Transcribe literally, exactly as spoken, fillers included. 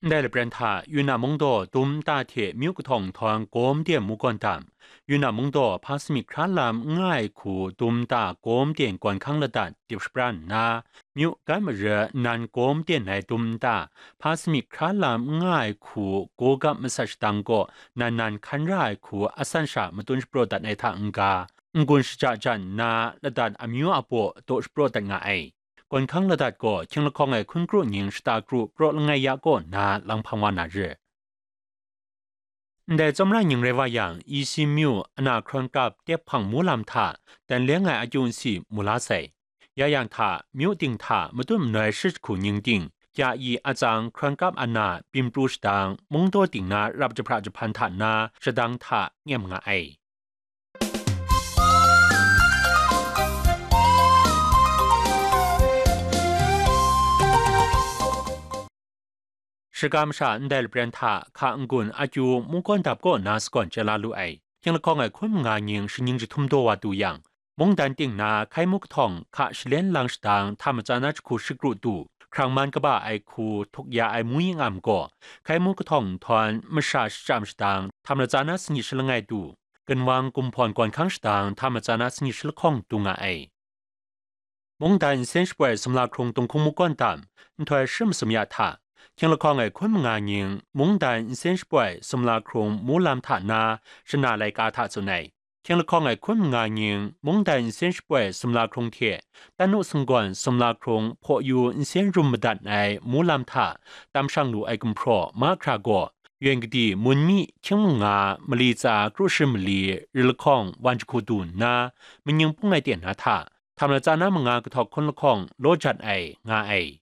Ndai lapren hta, Yunnan mungdaw dum nta hte myu kahtawng nhtawng gawm den mu gawn dam, Yunnan mungdaw hpa sami hkra lam n nga ai hku dum nta gawm den gawn hkang ladat dip shapran nna, myu gan mara nnan gawm den ai dum nta hpa sami hkra lam n nga ai hku gawgap masat shadang kaw nan nan hkan ra ai hku asan sha matun shapraw dat ai hta n-ga, n-gun shaja jan nna ladat amyu a baw daw shapraw dat nga ai. Gawn hkang ladat gaw hkying lahkawng ai hkun kru ning shata kru praw langai ya kaw nna lang hpang wa na re. Ndai tsawmra ning rai wa yang, Isi myu ana hkrawn kap tep hpang mu lam hta dan leng ai akyu nsi mu la sai. Ya yang hta, myu ting hta matut manoi shi jahku ning ting, kya i atsang hkrawn kap ana byin pru shadang, mungdaw ting na rap jahpra jahpan hta na shadang hta nyem nga ai. Shaga masha ndai lapren hta hka n-gun akyu mungkawn dap kaw na sagawn chye la lu ai. Hkying lahkawng ai hkun manga ning shaning jahtum daw wa du yang, mungdan ting na hkai mu kahtawng hka shalen lang shadang hta matsa na jahku shakru du, hkrang man kaba ai hku htuk ya ai mu ying am gaw, hkai mu kahtawng nhtawm masha shachyam shadang hta matsa na sanit shalangai du, ginwang gumhpawn gawn hkang shadang hta matsa na sanit shalahkawng du nga ai. Mungdan nsen shapoi sumla hkrung tunghkung mungkawn dam, nhtoi shi masum ya hta, hkying lahkawng ai hkun manga ning mungdan nsen shapoi sumla hkrung mu lam hta na shana laika hta tsun ai. Hkying lahkawng ai hkun manga ning mungdan nsen shapoi sumla hkrung hte Tanu sunggawn sumla hkrung hpaw yu nsen rum madat ai mu lam hta tam shang lu ai gumhpraw mahkra gaw, Yen Kadi, Munmi, Hkying Manga, Mali Tsa, Kru Shi Mali, Ri Lahkawng, Wan Jahku du nna, Manying Pung ai ten na hta, hta matsa na manga kahtawk hkun lahkawng law jat ai, nga ai.